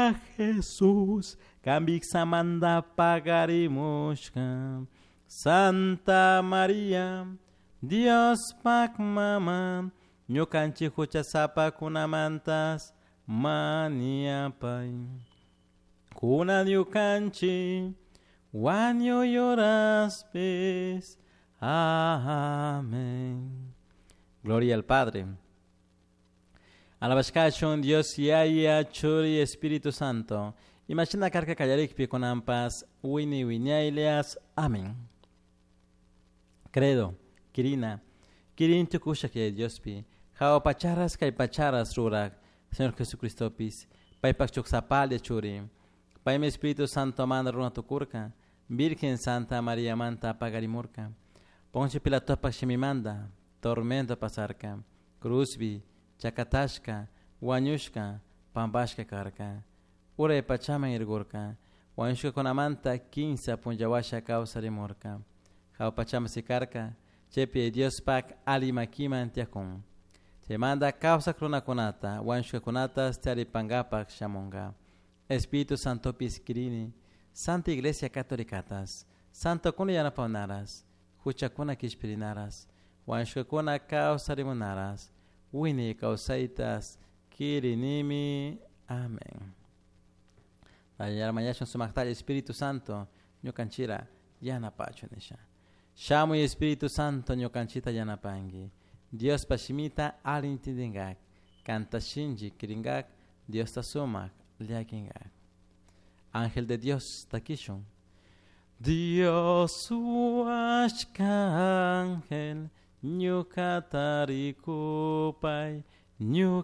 Tata Jesus, Kambiksamanta pagarimushka. Santa Maria, Diospak mama, ñukanchik huchasapakunamantas mañapay. Kunan ñukanchik wañuy horaspis. Amén. Gloria al Padre. Alabashkachun Dios Yaya, Churi, Espíritu Santo. Imashina karka kallarikpi kunanpas wini wiñaylias. Amén. Credo, Kirina, Kirin tukushak Yaya Diospi, Hawa pacharas kay pacharas rurak, Señor Jesucristopis, paypak chuksapalla churi, paymi Espíritu Santo manda runa tukurka, Virgen Santa María manta pagarimurka, Poncio Pilatopak shimimanda, tormento pasarka, cruzbi, chakatashka, wañushka, pampashka karka, uray pachaman irgurka, wañushkakunamanta kinsa punllawasha kawsarimurka, hawa pachaman sikarka, chaypi Diospak ali makiman tiyakun. Chaymanta kawsak runakunata, wañushkakunatas taripankapak shamunka. Espíritu Santopis kirini, Santa Iglesia Católicatas, Santokuna yanapawnaras, huchakuna kishpirinaras, wañushkakuna kawsarimunaras, wiñay kawsaytas kirinimi. Amén. Mañashun sumaktalla Espíritu Santo, ñukanchira yanapachu nisha. Shamuy Espíritu Santo ñukanchita yanapanki. Diospa shimita alli intindinkak, kanta shinchi kirinkak, Diosta sumak llakinkak. Ángel de Dios takishun. Dios huashka ángel, ñukata rikupay, ñuka.